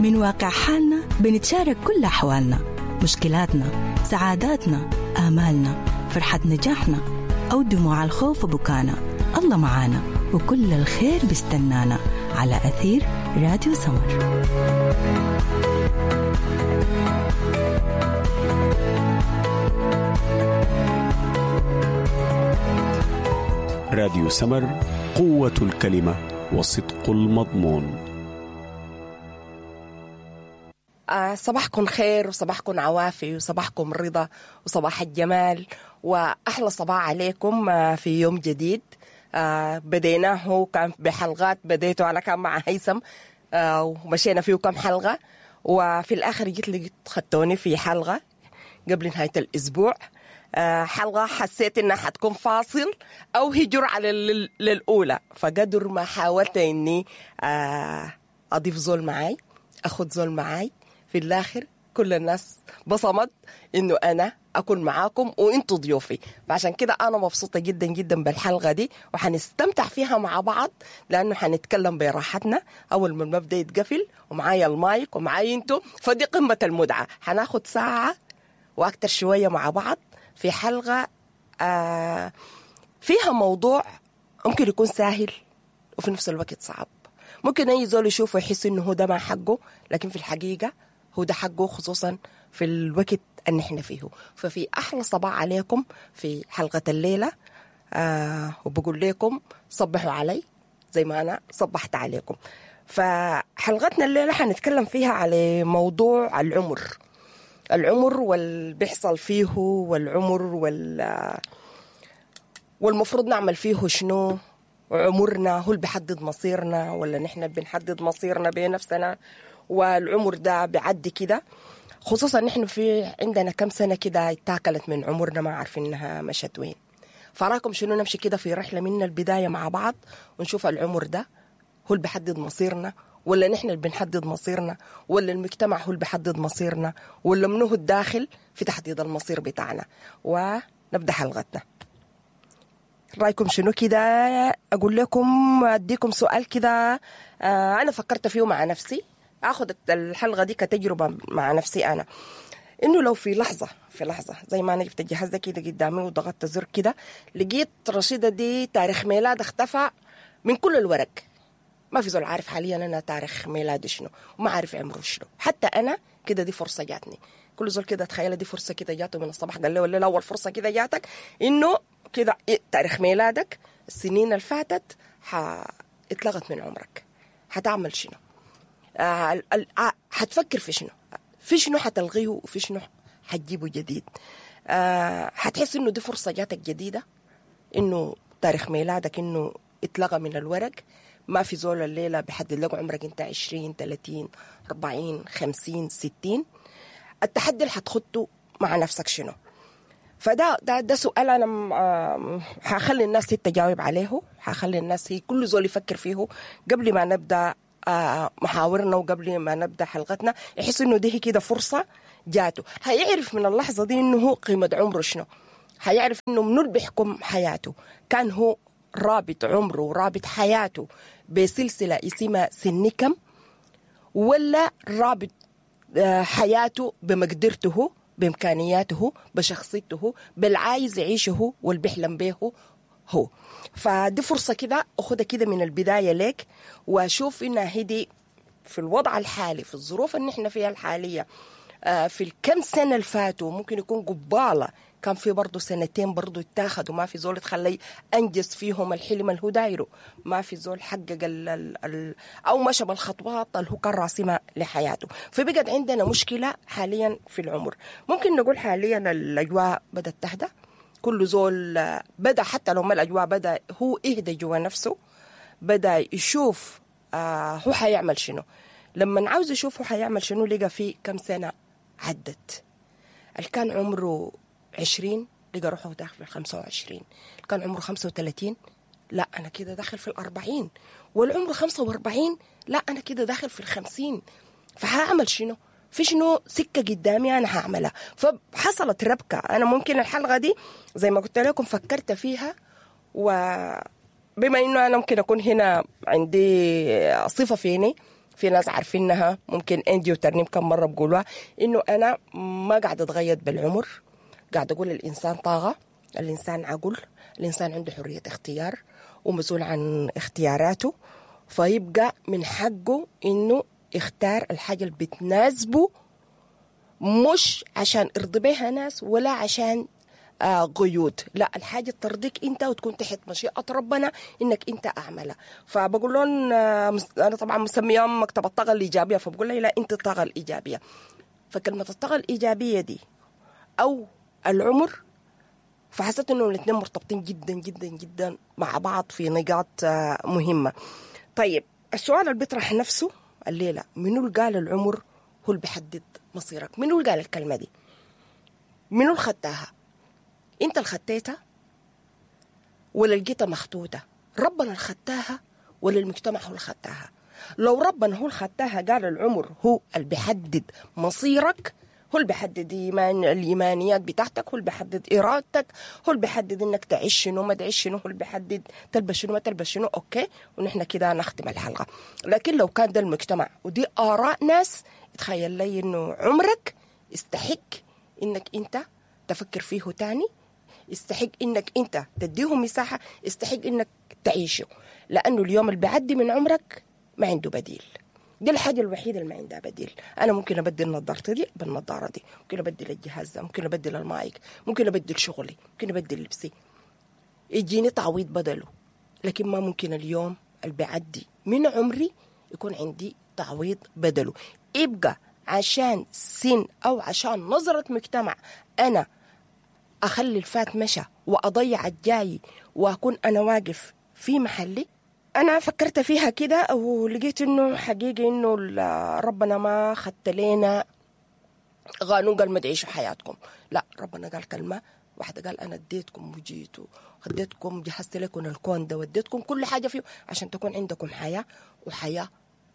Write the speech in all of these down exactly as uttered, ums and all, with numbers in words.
من واقع حالنا بنتشارك كل أحوالنا، مشكلاتنا، سعاداتنا، آمالنا، فرحة نجاحنا أو دموع الخوف وبكانا. الله معانا وكل الخير بيستنانا على أثير راديو سمر. راديو سمر، قوة الكلمة وصدق المضمون. آه صباحكم خير وصباحكم عوافي وصباحكم رضا وصباح الجمال وأحلى صباح عليكم آه في يوم جديد آه بديناه كان بحلقات، بديته أنا كان مع هيثم آه ومشينا فيه كم حلقة، وفي الآخر جيت لقيت خدتوني في حلقة قبل نهاية الأسبوع، آه حلقة حسيت إنها حتكون فاصل أو هجر على للأولى، فقدر ما حاولت إني آه أضيف زول معاي، أخذ زول معاي، في الآخر كل الناس بصمت إنه أنا أكون معاكم وإنتوا ضيوفي، فعشان كده أنا مبسوطة جدا جدا بالحلقة دي وحنستمتع فيها مع بعض، لأنه حنتكلم براحتنا أول ما المبدأ يتقفل ومعايا المايك ومعايا إنتوا، فدي قمة المتعة. حناخد ساعة وأكتر شوية مع بعض في حلقة آه فيها موضوع ممكن يكون سهل وفي نفس الوقت صعب، ممكن أي زول يشوفه يحس إنه هو ده ما حقه، لكن في الحقيقة هو ده حقه، خصوصا في الوقت اللي نحن فيه. ففي أحلى صباح عليكم في حلقة الليلة، آه وبقول لكم صبحوا علي زي ما أنا صبحت عليكم. فحلقتنا الليلة حنتكلم فيها على موضوع العمر، العمر واللي بيحصل فيه، والعمر وال والمفروض نعمل فيه شنو، عمرنا هو اللي بيحدد مصيرنا ولا نحن بنحدد مصيرنا بنفسنا، والعمر ده بيعدي كده، خصوصا نحن في عندنا كم سنة كده اتاكلت من عمرنا ما عارفين انها مشت وين. فراكم شنو نمشي كده في رحلة من البداية مع بعض ونشوف العمر ده هو اللي بيحدد مصيرنا ولا نحن اللي بنحدد مصيرنا، ولا المجتمع هو اللي بيحدد مصيرنا، ولا منه الداخل في تحديد المصير بتاعنا. ونبدأ حلقتنا. رأيكم شنو كده؟ أقول لكم أديكم سؤال كده آه أنا فكرت فيه مع نفسي، أخذ الحلقة دي كتجربة مع نفسي أنا، إنه لو في لحظة في لحظة زي ما أنا جبت الجهاز ده كده قدامي وضغطت زر كده لقيت رشيدة دي تاريخ ميلاد اختفى من كل الورق، ما في زول عارف حاليا أنا تاريخ ميلادي شنو وما عارف عمره شنو، حتى أنا كده دي فرصة جاتني. كل زول كده تخيل دي فرصة كده جاته من الصباح، قال له ولا أول فرصة كده جاتك إنه كده تاريخ ميلادك السنين اللي فاتت اتلغت من عمرك، هتعمل شنو؟ آه هتفكر في شنو؟ في شنو هتلغيه وفي شنو هتجيبه جديد؟ آه هتحس إنه دي فرصة جاتك جديدة، إنه تاريخ ميلادك إنه اتلغى من الورق، ما في زول الليلة بيحدد لك عمرك أنت عشرين ثلاثين أربعين خمسين ستين. التحدي اللي هتخطه مع نفسك شنو؟ فده ده ده سؤال أنا هخلي الناس تجاوب عليه، هخلي الناس هي كل زول يفكر فيه قبل ما نبدأ محاورنا وقبل ما نبدأ حلقتنا، يحس إنه دي كده فرصة جاته، هيعرف من اللحظة دي إنه هو قيمة عمره شنو، هيعرف إنه منو اللي بيحكم حياته، كان هو رابط عمره ورابط حياته بسلسلة اسمها سنكم، ولا رابط حياته بمقدرته بإمكانياته بشخصيته بالعايز يعيشه واللي بيحلم به هو. فدي فرصة كده أخدها كده من البداية لك، وأشوف إنها هدي في الوضع الحالي في الظروف اللي نحن فيها الحالية في الكم سنة اللي فاتوا، ممكن يكون قبالة كان في برضو سنتين برضو اتاخد وما في زول تخلي أنجز فيهم الحلم اللي هو دايره، ما في زول حقق ال ال ال أو مشى بالخطوات اللي هو كان راسمها لحياته. فبقت عندنا مشكلة حاليا في العمر، ممكن نقول حاليا الأجواء بدأت تهدى، كل زول بدأ حتى لو ما الأجواء بدأ هو يهدى جوا نفسه، بدأ يشوف آه هو حيعمل شنو. لما عاوز يشوف هو حيعمل شنو لقى في كم سنة عدت، اللي كان عمره عشرين لقى روحه داخل في الخمسة وعشرين، كان عمره خمسة وثلاثين لا أنا كده داخل في الأربعين، والعمر خمسة وأربعين لا أنا كده داخل في الخمسين، فهعمل شنو؟ في شنو سكة قدامي أنا هعملها؟ فحصلت ربكة. أنا ممكن الحلقة دي زي ما قلت لكم فكرت فيها، وبما إنه أنا ممكن أكون هنا عندي صفة فيني في ناس عارفينها، ممكن انجي وترنيم كم مرة بقولوها، انه انا ما قاعدة اتغيد بالعمر، قاعدة اقول الانسان طاغه، الانسان عقل، الانسان عنده حرية اختيار ومسؤول عن اختياراته، فيبقى من حقه انه يختار الحاجة اللي بتناسبه، مش عشان ارضي بيها ناس ولا عشان آه قيود، لا، الحاجة ترضيك انت وتكون تحت مشيئة ربنا انك انت اعملها. فبقول لهم آه انا طبعا مسميهم مكتب الطاقة الايجابية، فبقول لي لا انت الطاقة الايجابية. فكلمه الطاقة الايجابية دي او العمر، فحسيت انه الاثنين مرتبطين جدا جدا جدا مع بعض في نقاط آه مهمة. طيب السؤال اللي بيطرح نفسه الليلة، منو اللي قال العمر هو اللي بيحدد مصيرك؟ منو اللي قال الكلمة دي؟ منو اللي خدتها؟ انت اللي خدتها ولا لقيتها مخطوطة؟ ربنا اللي خدتها ولا المجتمع هو اللي خدتها؟ لو ربنا هو اللي خدتها قال العمر هو اللي بيحدد مصيرك، هو اللي بيحدد إيمان الإيمانيات بتاعتك، هو اللي بيحدد إرادتك، هو اللي بيحدد إنك تعيش شنو ما تعيش شنو، هو اللي بيحدد تلبس شنو ما تلبس شنو. okay، ونحن كده نختم الحلقة. لكن لو كان ده المجتمع ودي آراء ناس، تخيل لي إنه عمرك يستحق إنك أنت تفكر فيه تاني، يستحق إنك أنت تديه مساحة، يستحق إنك تعيشه، لأنه اليوم اللي بيعدي من عمرك ما عنده بديل. دي الحاجة الوحيدة اللي ما عندها بديل. أنا ممكن أبدل نظارتي دي بالنظارة دي، ممكن أبدل الجهاز ده، ممكن أبدل المايك، ممكن أبدل شغلي، ممكن أبدل لبسي، يجيني تعويض بدله، لكن ما ممكن اليوم اللي بيعدي من عمري يكون عندي تعويض بدله. يبقى عشان سن أو عشان نظرة مجتمع أنا أخلي الفات مشى وأضيع الجاي وأكون أنا واقف في محلي. أنا فكرت فيها كده ولقيت إنه حقيقي إنه ربنا ما خدت لنا قانون قال ما تعيشوا حياتكم، لا، ربنا قال كلمة واحدة، قال أنا اديتكم وجيتوا خديتكم جهزت لكم الكون ده وديتكم كل حاجة فيه عشان تكون عندكم حياة، وحياة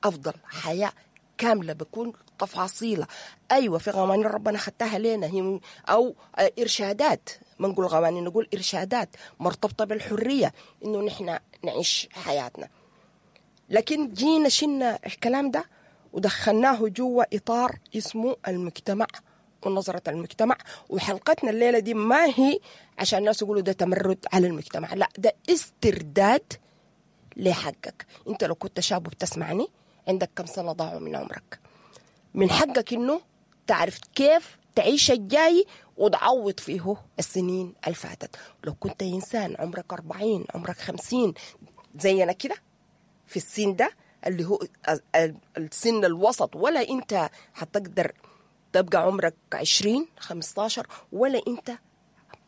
أفضل، حياة كاملة بكون تفاصيلها. أيوة في قوانين ربنا خدتها لنا هي أو إرشادات، ما نقول قوانين نقول إرشادات مرتبطة بالحرية إنه نحن نعيش حياتنا. لكن جينا شلنا الكلام ده ودخلناه جوا إطار اسمه المجتمع ونظرة المجتمع. وحلقتنا الليلة دي ما هي عشان الناس يقولوا ده تمرد على المجتمع، لا، ده استرداد لحقك. انت لو كنت شاب وبتسمعني عندك كم سنة ضاعوا من عمرك، من حقك إنه تعرف كيف تعيش الجاي وتعوض فيه السنين الفاتت. لو كنت إنسان عمرك أربعين، عمرك خمسين زينا كده في السن ده اللي هو السن الوسط، ولا أنت حتقدر تبقى عمرك عشرين خمستاشر، ولا أنت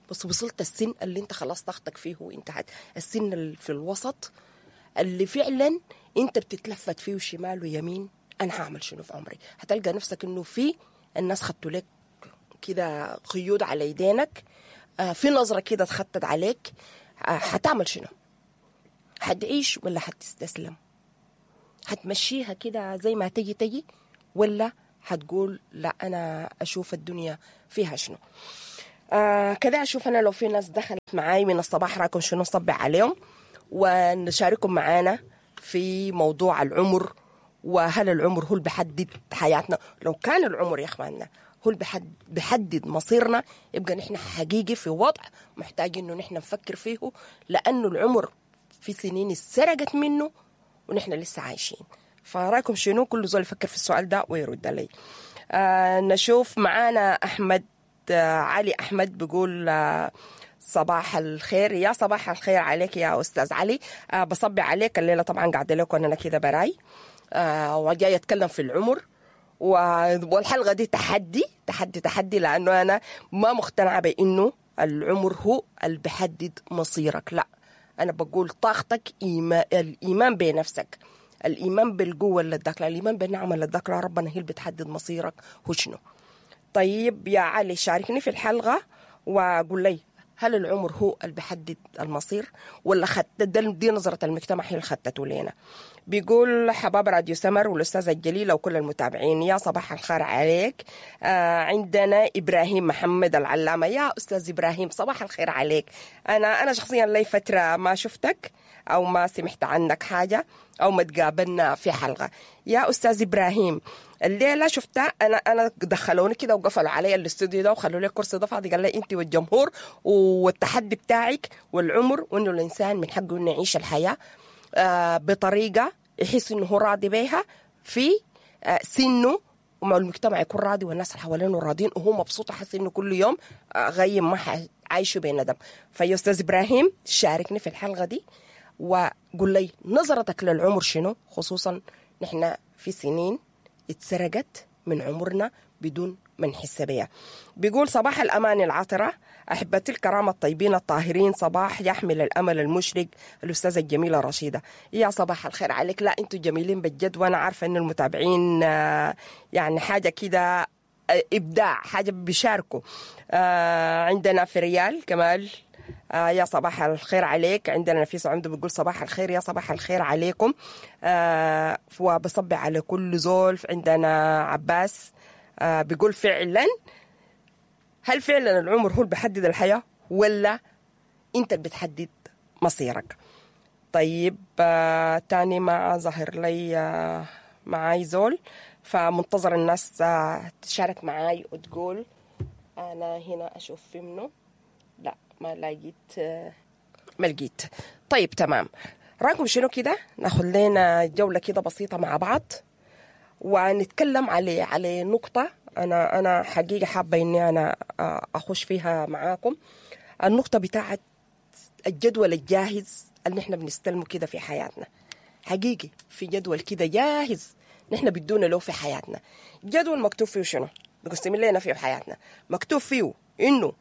بس وصلت السن اللي أنت خلاص طاقتك فيه وانتهت، السن اللي في الوسط اللي فعلا انت بتتلفت فيه شمال ويمين، انا هعمل شنو في عمري؟ هتلقى نفسك انه في الناس خدتوا لك كده قيود على يدينك، آه في نظرة كده اتخطت عليك، آه هتعمل شنو؟ هتعيش ولا هتستسلم؟ هتمشيها كده زي ما تجي تجي، ولا هتقول لا انا اشوف الدنيا فيها شنو؟ آه كده اشوف انا لو في ناس دخلت معاي من الصباح رايكم شنو، نصبح عليهم ونشارككم معانا في موضوع العمر، وهل العمر هو اللي بيحدد حياتنا؟ لو كان العمر يا اخواننا هو اللي بيحدد مصيرنا، يبقى نحن حقيقي في وضع محتاج انه نحن نفكر فيه، لانه العمر في سنين سرقت منه ونحن لسه عايشين. فرايكم شنو؟ كل زول يفكر في السؤال ده ويرد علي. آه نشوف معانا احمد آه علي احمد بيقول آه صباح الخير. يا صباح الخير عليك يا أستاذ علي. أه بصبي عليك الليلة، طبعا قاعدة لكم أنا كده براي، أه وجاي أتكلم في العمر، والحلقة دي تحدي تحدي تحدي، لأنه أنا ما مقتنعة بأنه العمر هو اللي بيحدد مصيرك، لا، أنا بقول طاقتك، إيمان، الإيمان بنفسك، الإيمان بالقوة اللي اداك، الإيمان بالنعمة اللي اداك ربنا هي اللي بتحدد مصيرك هو شنو. طيب يا علي شاركني في الحلقة وقول لي هل العمر هو اللي بيحدد المصير ولا خد دي نظرة المجتمع هي اللي خدته لنا؟ بيقول حباب راديو سمر والأستاذة الجليلة وكل المتابعين، يا صباح الخير عليك. آه عندنا إبراهيم محمد العلامة، يا أستاذ إبراهيم صباح الخير عليك. أنا أنا شخصيا لي فترة ما شفتك أو ما سمعت عنك حاجة أو ما تقابلنا في حلقة. يا أستاذ إبراهيم الليلة شفتها أنا أنا دخلوني كده وقفلوا علي الاستوديو ده وخلوا لي الكرسي ده فاضي، قال لي أنت والجمهور والتحدي بتاعك والعمر، وإنه الإنسان من حقه إنه يعيش الحياة آه بطريقة يحس إنه هو راضي بيها في آه سنة، وما المجتمع يكون راضي والناس اللي حوالينه راضين وهو مبسوط، حاسس إنه كل يوم آه غيم ما عايشه بندم. فيا أستاذ إبراهيم شاركني في الحلقة دي وقول لي نظرتك للعمر شنو، خصوصا نحن في سنين اتسرقت من عمرنا بدون ما نحس بيها. بيقول صباح الأمان العطرة أحبتي الكرامة الطيبين الطاهرين، صباح يحمل الأمل المشرق الأستاذة الجميلة رشيدة. يا صباح الخير عليك. لا أنتوا جميلين بجد، وأنا عارفة أن المتابعين يعني حاجة كده إبداع، حاجة بيشاركوا. عندنا في ريال كمال آه يا صباح الخير عليك. عندنا نفيسة عمده بتقول صباح الخير، يا صباح الخير عليكم. آه وبصبي على كل زول. عندنا عباس آه بيقول فعلا، هل فعلا العمر هو اللي بيحدد الحياة ولا انت اللي بتحدد مصيرك؟ طيب آه تاني ما ظهر لي آه معاي زول، فمنتظر الناس آه تشارك معاي وتقول. انا هنا اشوف في منه، لا ما لقيت، ما لقيت. طيب تمام، رايكم شنو كده ناخد لنا جولة كده بسيطة مع بعض ونتكلم على على نقطة أنا أنا حقيقة حابة إني أنا أخش فيها معاكم، النقطة بتاعت الجدول الجاهز اللي نحن بنستلمه كده في حياتنا. حقيقي في جدول كده جاهز نحن بدونا له في حياتنا، جدول مكتوب فيه شنو بقسم لنا فيه حياتنا، مكتوب فيه إنه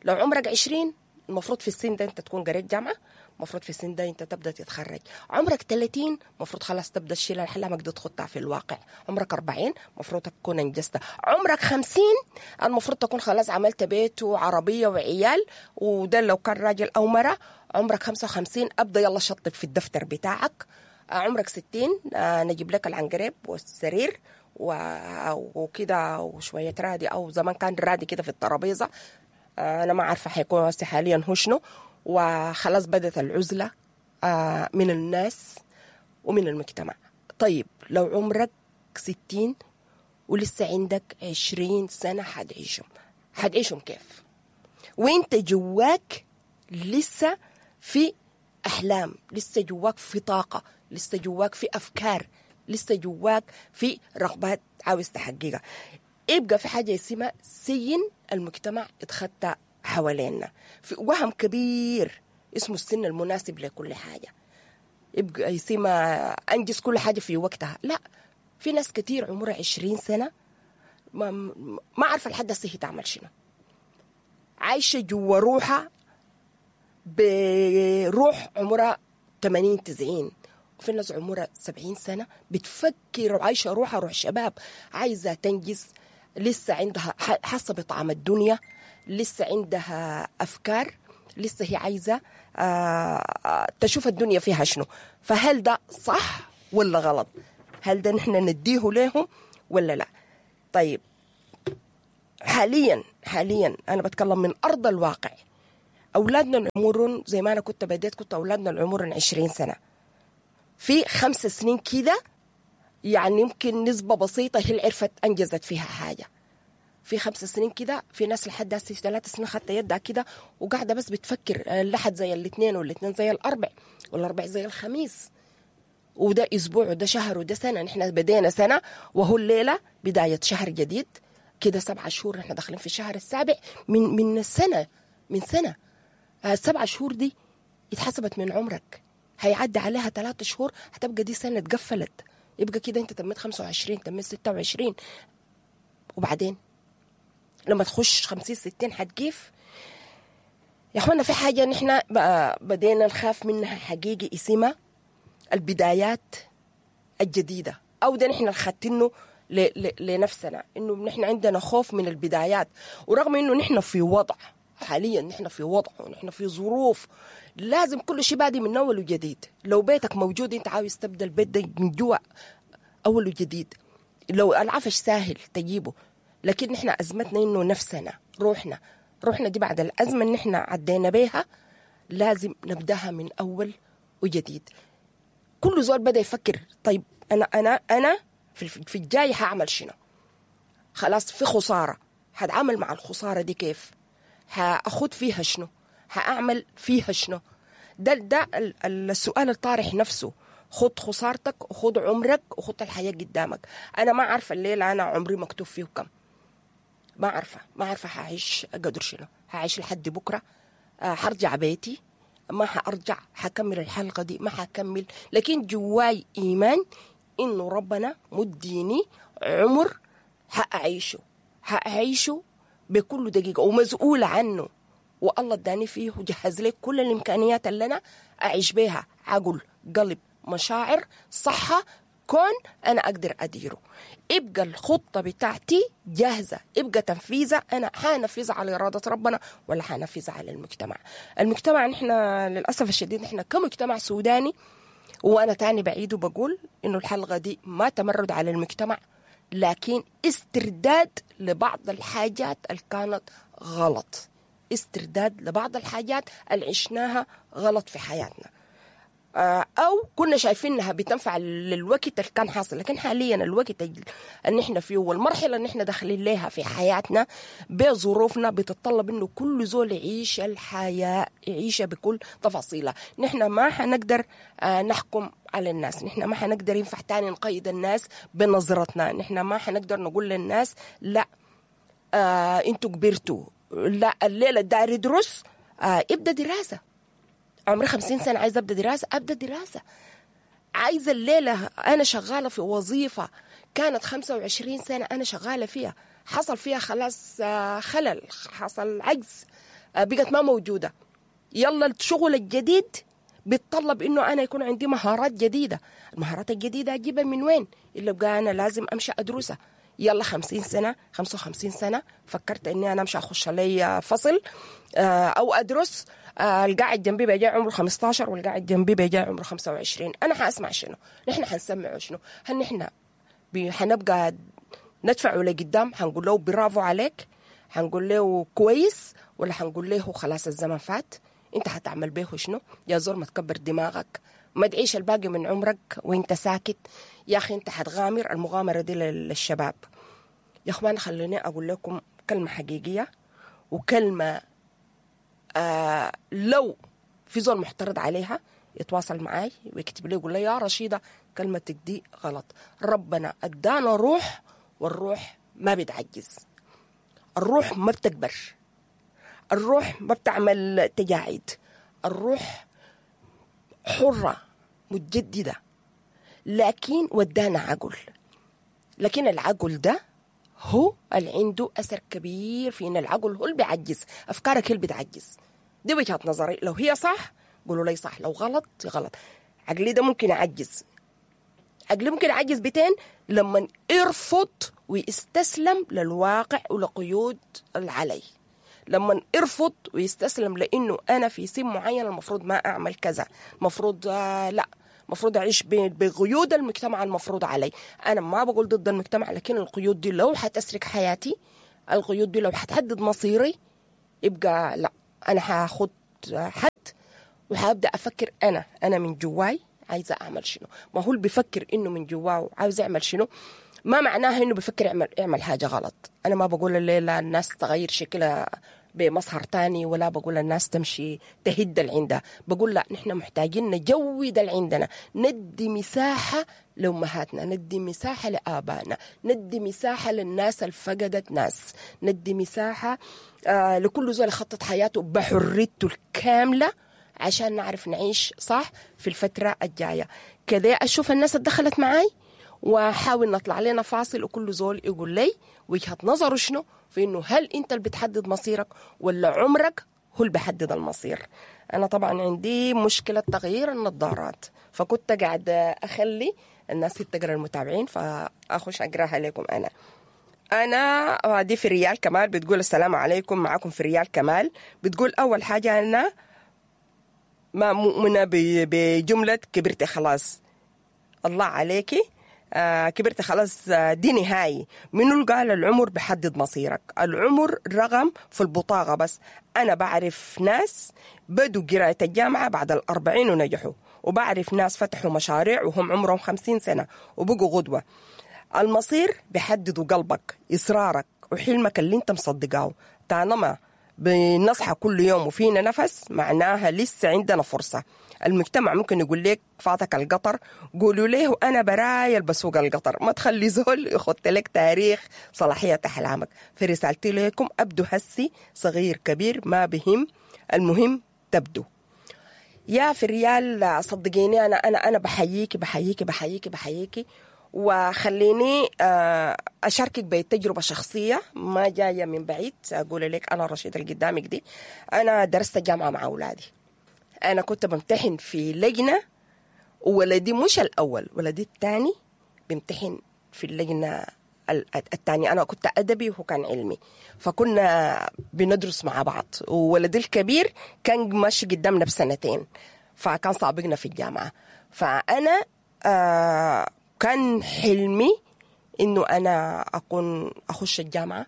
لو عمرك عشرين المفروض في السن ده انت تكون قريت جامعة، المفروض في السن ده انت تبدأ تتخرج. عمرك ثلاثين المفروض خلاص تبدأ تشيل احلامك دي تخطها في الواقع. عمرك أربعين المفروض تكون انجزت. عمرك خمسين المفروض تكون خلاص عملت بيت وعربية وعيال، وده لو كان راجل أو مرة. عمرك خمسة وخمسين أبدأ يلا شطب في الدفتر بتاعك. عمرك ستين نجيب لك العنقريب والسرير وكده وشوية رادي، أو زمان كان رادي كده في الترابيزة، أنا ما عارفة حيكون حاليا هو شنو. وخلاص بدأت العزلة من الناس ومن المجتمع. طيب لو عمرك ستين ولسه عندك عشرين سنة حتعيشهم، حتعيشهم كيف؟ وانت جواك لسه في أحلام، لسه جواك في طاقة، لسه جواك في أفكار، لسه جواك في رغبات عاوز تحققها. يبقى في حاجة اسمها سين المجتمع اتخطى حوالينا، في وهم كبير اسمه السن المناسب لكل حاجة، يبقى اسمها أنجز كل حاجة في وقتها. لا، في ناس كتير عمرها عشرين سنة ما, ما عارفة لحد هسه هي تعمل شنو، عايشة جوا روحها بروح عمرها ثمانين تسعين، وفي ناس عمرها سبعين سنة بتفكر وعايشة روحها روح شباب، عايزة تنجز، لسه عندها حاسة بطعم الدنيا، لسه عندها أفكار، لسه هي عايزة تشوف الدنيا فيها شنو. فهل ده صح ولا غلط؟ هل ده نحن نديه لهم ولا لا؟ طيب حاليا حاليا أنا بتكلم من أرض الواقع، أولادنا العمر زي ما أنا كنت بديت، كنت أولادنا العمر عشرين سنة، في خمس سنين كده يعني يمكن نسبة بسيطة هي اللي عرفت أنجزت فيها حاجة. في خمس سنين كده في ناس لحد هسه في ثلاث سنين خدت يدها كده وقاعدة بس بتفكر، اللحد زي الاثنين والاثنين زي الأربع والأربع زي الخميس، وده أسبوع وده شهر وده سنة. نحن بدينا سنة وهو الليلة بداية شهر جديد كده، سبعة شهور نحن داخلين في الشهر السابع من من السنة، من سنة السبعة شهور دي اتحسبت من عمرك، هيعدي عليها ثلاثة شهور هتبقى دي سنة اتقفلت، يبقى كده انت تميت خمسة وعشرين، تميت ستة وعشرين، وبعدين لما تخش خمسين ستين هتجيف. يا اخوانا في حاجة نحن بدينا نخاف منها حقيقي اسمها البدايات الجديدة، او ده نحن خدتنه لنفسنا، انه نحن عندنا خوف من البدايات، ورغم انه نحن في وضع حاليا، نحن في وضع ونحن في ظروف لازم كل شيء بادي من اول وجديد. لو بيتك موجود انت عاوز تبدا البيت ده من جوا اول وجديد، لو العفش ساهل تجيبه، لكن نحن ازمتنا انه نفسنا روحنا روحنا دي بعد الازمة اللي نحن عدينا بيها لازم نبداها من اول وجديد. كل زول بدأ يفكر طيب أنا أنا أنا في في الجاي هعمل شنو؟ خلاص في خسارة، هتعامل مع الخسارة دي كيف؟ هأخد فيها شنو؟ هأعمل فيها شنو؟ ده ده السؤال الطارح نفسه. خد خسارتك وخد عمرك وخد الحياة قدامك. أنا ما عارفة الليلة أنا عمري مكتوب فيه كم، ما عارفة ما عارفة هعيش قدر شنو، هعيش لحد بكرة، حرجع بيتي ما حأرجع، حكمل الحلقة دي ما حكمل، لكن جواي إيمان إنه ربنا مديني عمر حأعيشه، حأعيشه بكل دقيقة ومسؤولة عنه، والله اداني فيه وجهز لي كل الإمكانيات اللي أنا أعيش بيها، عقل، قلب، مشاعر، صحة، كون أنا أقدر أديره. يبقى الخطة بتاعتي جاهزة، يبقى تنفيذها أنا حانفذها على إرادة ربنا ولا حانفذها على المجتمع. المجتمع نحن للأسف الشديد نحن كمجتمع سوداني، وأنا تاني بعيد وبقول إنه الحلقة دي ما تمرد على المجتمع، لكن استرداد لبعض الحاجات اللي كانت غلط، استرداد لبعض الحاجات اللي عشناها غلط في حياتنا، أو كنا شايفينها بتنفع للوقت اللي كان حاصل، لكن حاليا الوقت اللي نحن فيه والمرحلة اللي نحن داخلين لها في حياتنا بظروفنا بتتطلب إنه كل زول يعيش الحياة، يعيشها بكل تفاصيلها. نحن ما حنقدر نحكم على الناس، نحن ما حنقدر ينفع تاني نقيد الناس بنظرتنا، نحن ما حنقدر نقول للناس لا آه انتوا كبرتوا، لا الليلة داير يدرس آه ابدأ دراسة، عمري خمسين سنة عايزة أبدأ دراسة، أبدأ دراسة. عايزة الليلة أنا شغالة في وظيفة كانت خمسة وعشرين سنة أنا شغالة فيها، حصل فيها خلاص خلل، حصل عجز، بقت ما موجودة. يلا الشغل الجديد بيتطلب إنه أنا يكون عندي مهارات جديدة، المهارات الجديدة أجيبها من وين؟ إلا بقى أنا لازم أمشي أدرسها. يلا خمسين سنة، خمسة وخمسين سنة، فكرت إني أنا أمشي أخش لي فصل أو أدرس، القاعد جنبي بيجي عمره خمستاشر والقاعد جنبي بيجي عمره خمسة وعشرين، أنا حأسمع شنو؟ نحن حنسمعه شنو؟ هل نحن حنبقى ندفعه لقدام؟ حنقول له برافو عليك، حنقول له كويس، ولا حنقول له خلاص الزمن فات، أنت حتعمل به شنو؟ يا زول ما تكبر دماغك، ما تعيش الباقي من عمرك وانت ساكت يا أخي، أنت حتغامر. المغامرة دي للشباب يا أخوان. خليني أقول لكم كلمة حقيقية وكلمة آه لو في زول محترض عليها يتواصل معاي ويكتب لي يقول لي يا رشيدة كلمتك دي غلط. ربنا أدانا روح، والروح ما بتعجز، الروح ما بتكبر، الروح ما بتعمل تجاعيد، الروح حرة متجددة، لكن ودانا عقل، لكن العقل ده هو اللي عنده أثر كبير فينا. العقل هو اللي بيعجز، أفكارك هي اللي بتعجز. دي وجهة نظري، لو هي صح قولوا لي صح، لو غلط غلط. عقلي ده ممكن يعجز، عقلي ممكن يعجز بتين لما يرفض ويستسلم للواقع ولقيود العلي، لما يرفض ويستسلم لأنه أنا في سن معين المفروض ما أعمل كذا، المفروض آه لا المفروض أعيش بقيود المجتمع المفروض علي. أنا ما بقول ضد المجتمع، لكن القيود دي لو حتسرق حياتي، القيود دي لو حتحدد مصيري، يبقى لا أنا هاخد حد وهبدأ أفكر أنا أنا من جواي عايزة أعمل شنو. ما هو اللي بيفكر إنه من جواه عاوز يعمل شنو ما معناها إنه بيفكر يعمل يعمل حاجة غلط. أنا ما بقول الليلة الناس تغير شكلها بمظهر تاني، ولا بقول الناس تمشي تهد اللي عندها، بقول لا نحن محتاجين نجود اللي عندنا، ندي مساحة لأمهاتنا، ندي مساحة لآبائنا، ندي مساحة للناس اللي فقدت ناس، ندي مساحة آه لكل زول خطط حياته بحريته الكاملة عشان نعرف نعيش صح في الفترة الجاية. كذا أشوف الناس دخلت معاي وحاول نطلع لنا فاصل، وكل زول يقول لي وجهة نظره شنو في إنه هل أنت اللي بتحدد مصيرك ولا عمرك هو اللي بيحدد المصير. أنا طبعا عندي مشكلة تغيير النظارات، فكنت قاعدة أخلي الناس تقرأ المتابعين فأخش أقراها لكم. أنا أنا دي في ريال كمال بتقول السلام عليكم، معكم في ريال كمال. بتقول أول حاجة أنا ما مؤمنة بجملة كبرتي خلاص، الله عليكي آه كبرت خلاص، دي نهاية. منو اللي قال العمر بحدد مصيرك؟ العمر رقم في البطاقة بس. أنا بعرف ناس بدوا قراءة الجامعة بعد الأربعين ونجحوا، وبعرف ناس فتحوا مشاريع وهم عمرهم خمسين سنة وبقوا غدوة. المصير بيحددوا قلبك، إصرارك، وحلمك اللي انت مصدقاه. طالما بنصحى كل يوم وفينا نفس، معناها لسه عندنا فرصة. المجتمع ممكن يقول لك فاتك القطر، قولوا له أنا براي البسوق القطر، ما تخلي زول يخط لك تاريخ صلاحية أحلامك. في رسالتي لكم أبدو هسي، صغير كبير ما بهم، المهم تبدو. يا فريال صدقيني أنا أنا أنا بحييكي بحييكي بحييكي بحييكي، وخليني أشاركك بتجربة شخصية ما جاية من بعيد. أقول لك أنا رشيد اللي قدامك دي، أنا درست الجامعة مع أولادي. أنا كنت بمتحن في لجنة، وولدي مش الأول، ولدي الثاني بمتحن في اللجنة الثانية. أنا كنت أدبي وهو كان علمي، فكنا بندرس مع بعض. وولدي الكبير كان ماشي قدامنا بسنتين، فكان سابقنا في الجامعة. فأنا آه كان حلمي إنه أنا أكون أخش الجامعة.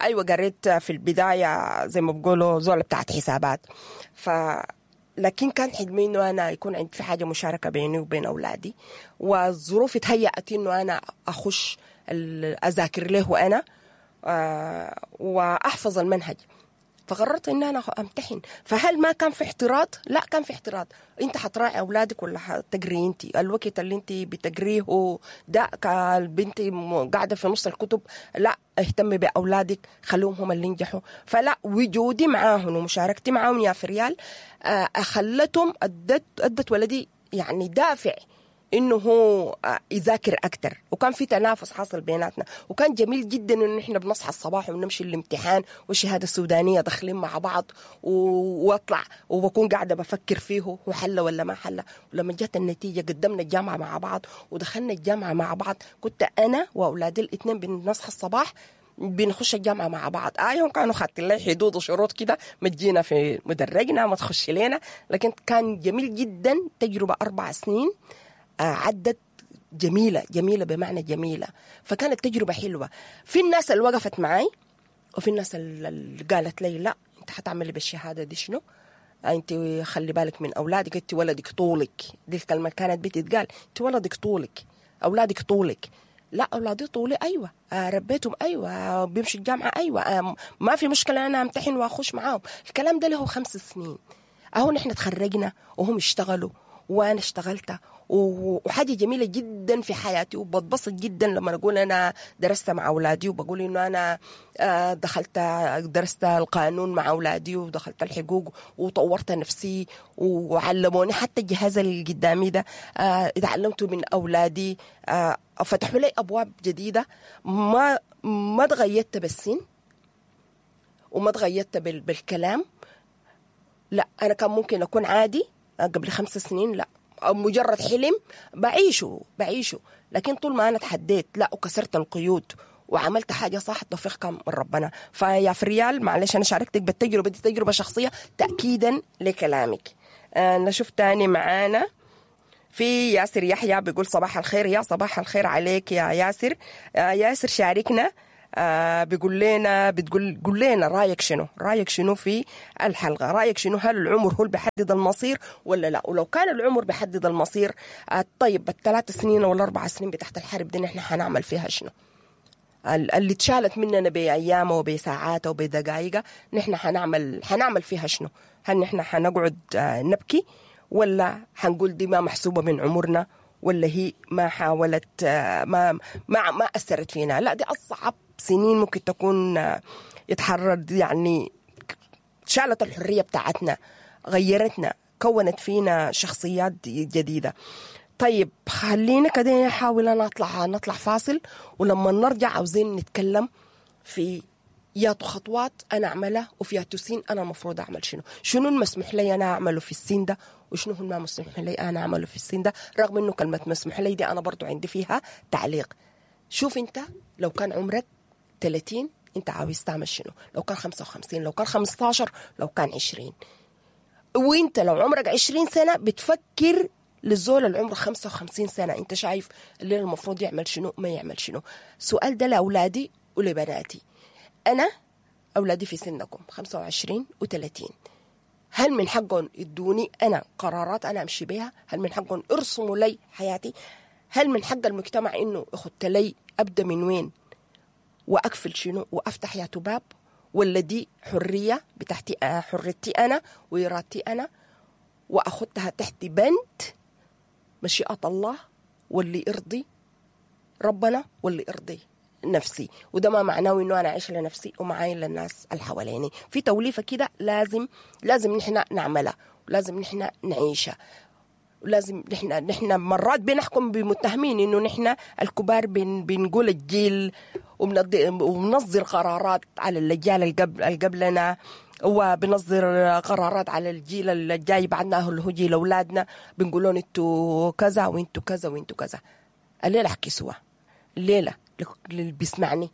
أيوة قريت في البداية زي ما بقولوا زولة بتاعت حسابات، ف لكن كان حلمي إنه أنا يكون عندي في حاجة مشاركة بيني وبين أولادي، والظروف تهيأت إنه أنا أخش أذاكر له أنا وأحفظ المنهج. فقررت إن أنا أمتحن. فهل ما كان في احتراض؟ لا كان في احتراض. أنت حتراعي أولادك ولا حتجري أنت؟ الوقت اللي أنت بتجريه ده البنت قاعدة في نص الكتب، لا اهتمي بأولادك، خلوهم هم اللي ينجحوا. فلا وجودي معاهم ومشاركتي معاهم يا فريال خلتهم أدت أدت ولدي يعني دافع إنه هو يذاكر أكتر، وكان في تنافس حاصل بيناتنا. وكان جميل جدا إنه إحنا بنصحى الصباح ونمشي الامتحان والشهادة السودانية داخلين مع بعض، وأطلع وبكون قاعدة بفكر فيه هو حل ولا ما حل. ولما جت النتيجة قدمنا الجامعة مع بعض ودخلنا الجامعة مع بعض. كنت أنا وأولادي الاثنين بنصحى الصباح بنخش الجامعة مع بعض. آيهم كانوا خاطين لي حدود وشروط كده، ما تجينا في مدرجنا، ما تخش لنا، لكن كان جميل جدا. تجربة أربع سنين عدت جميلة جميلة بمعنى جميلة. فكانت تجربة حلوة. في الناس اللي وقفت معي، وفي الناس اللي قالت لي لا انت حتعملي بالشهادة دي شنو، انت خلي بالك من أولادك، انت ولدك طولك. دي الكلمة كانت بتتقال، انت ولدك طولك، أولادك طولك. لا أولادي طولي، أيوة ربيتهم، أيوة بيمشي الجامعة، أيوة ما في مشكلة أنا أمتحن وأخش معاهم. الكلام ده له خمس سنين أهو. نحن تخرجنا وهم اشتغلوا وأنا اشتغلت، وحاجة جميلة جدا في حياتي. وبتبسط جدا لما أقول أنا درست مع أولادي، وبقول إنه أنا دخلت درست القانون مع أولادي، ودخلت الحقوق وطورت نفسي وعلموني حتى الجهاز اللي قدامي ده اتعلمته من أولادي. فتحوا لي أبواب جديدة. ما ما تغيرت بالسن وما تغيرت بالكلام. لا أنا كان ممكن أكون عادي قبل خمس سنين، لا أو مجرد حلم بعيشه بعيشه، لكن طول ما أنا تحديت لا وكسرت القيود وعملت حاجة صح، التوفيق كان من ربنا. فيا فريال معلش أنا شاركتك بالتجربة دي، تجربة شخصية تأكيدا لكلامك. آه نشوف تاني معانا في ياسر يحيى بيقول صباح الخير. يا صباح الخير عليك يا ياسر. آه ياسر شاركنا، آه بيقول لنا بتقول قول لنا رايك شنو، رايك شنو في الحلقه، رايك شنو، هل العمر هو اللي بيحدد المصير ولا لا؟ ولو كان العمر بيحدد المصير، آه طيب الثلاث سنين ولا اربع سنين بتحت الحرب دي نحن حنعمل فيها شنو؟ اللي اتشالت مننا بايامه وبساعاته وبدقائقه نحن حنعمل حنعمل فيها شنو؟ هل نحن حنقعد آه نبكي، ولا حنقول دي ما محسوبه من عمرنا، ولا هي ما حاولت آه ما ما ما اثرت فينا؟ لا دي اصعب سنين ممكن تكون يتحرر، يعني شالت الحرية بتاعتنا، غيرتنا، كونت فينا شخصيات جديدة. طيب خلينا كده نحاول نطلع نطلع فاصل، ولما نرجع عاوزين نتكلم في ياتو خطوات أنا أعملها وفي ياتو سين أنا المفروض أعمل شنو، شنو المسموح لي أنا أعمله في السين ده، وشنو ما مسموح لي أنا أعمله في السين ده، رغم إنه كلمة مسموح لي دي أنا برضو عندي فيها تعليق. شوف أنت لو كان عمرك ثلاثين انت عاوز تعمل شنو، لو كان خمسة وخمسين، لو كان خمستاشر، لو كان عشرين. وانت لو عمرك عشرين سنة بتفكر للزول العمر خمسة وخمسين سنة، انت شايف اللي المفروض يعمل شنو ما يعمل شنو. سؤال ده لأولادي ولبناتي. أنا أولادي في سنكم خمسة وعشرين وثلاثين، هل من حقهم يدوني انا قرارات انا امشي بيها؟ هل من حقهم يرسموا لي حياتي؟ هل من حق المجتمع انه يخط لي ابدا من وين واقفل شنو وافتح يا باب؟ ولا دي حرية بتاعتي، حريتي انا وارادتي انا، واخدها تحت بند مشيئة الله واللي يرضي ربنا واللي يرضي نفسي. وده ما معناه انه انا اعيش لنفسي ومعاين للناس اللي حواليني. في توليفة كده لازم لازم نحن نعملها، ولازم نحن نعيشها، ولازم نحن نحن مرات بنحكم بمتهمين انه نحن الكبار بن بنقول الجيل وبنصدر قرارات على الاجيال اللي قبلنا، وبنصدر قرارات على الجيل الجاي بعدنا اللي هو جيل اولادنا، بنقول لهم انتوا كذا وانتوا كذا وانتوا كذا. الليلة احكي سوا، الليلة اللي بيسمعني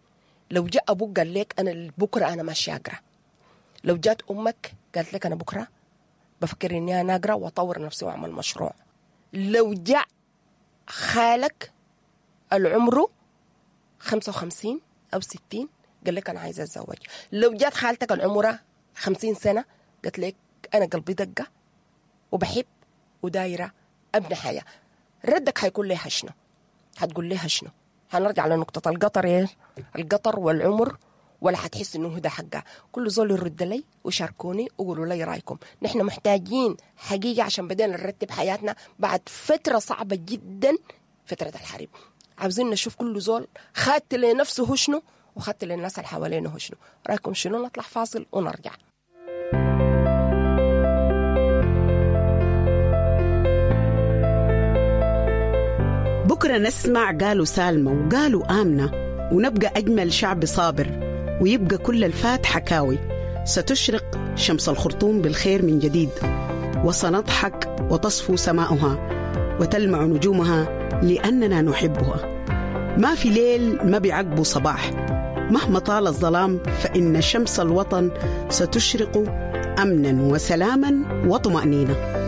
لو جاء ابوك قال لك انا بكره انا ماشي اقرا، لو جات امك قالت لك انا بكره بفكر اني انا اقرا واطور نفسي واعمل مشروع، لو جاء خالك العمرة خمسة وخمسين او ستين قال لك انا عايزه اتزوج، لو جات خالتك العمرة خمسين سنة قالت لك انا قلبي دقه وبحب ودايره ابني حياة، ردك حيكون لها شنو؟ حتقول لها شنو؟ هنرجع لنقطة القطر، إيه؟ القطر والعمر، ولا حتحس إنه ده حقها؟ كل زول يرد لي وشاركوني وقولوا لي رأيكم. نحن محتاجين حقيقة عشان بدينا نرتب حياتنا بعد فترة صعبة جدا، فترة الحرب. عاوزين نشوف كل زول خدت لنفسه هو شنو وخدت للناس اللي حوالينه هو شنو. رأيكم شنو؟ نطلع فاصل ونرجع. بكرة نسمع قالوا سالمة وقالوا آمنة، ونبقى أجمل شعب صابر، ويبقى كل الفات حكاوي. ستشرق شمس الخرطوم بالخير من جديد، وسنضحك وتصفو سماؤها وتلمع نجومها لأننا نحبها. ما في ليل ما بيعقبه صباح، مهما طال الظلام فإن شمس الوطن ستشرق أمنا وسلاما وطمأنينة.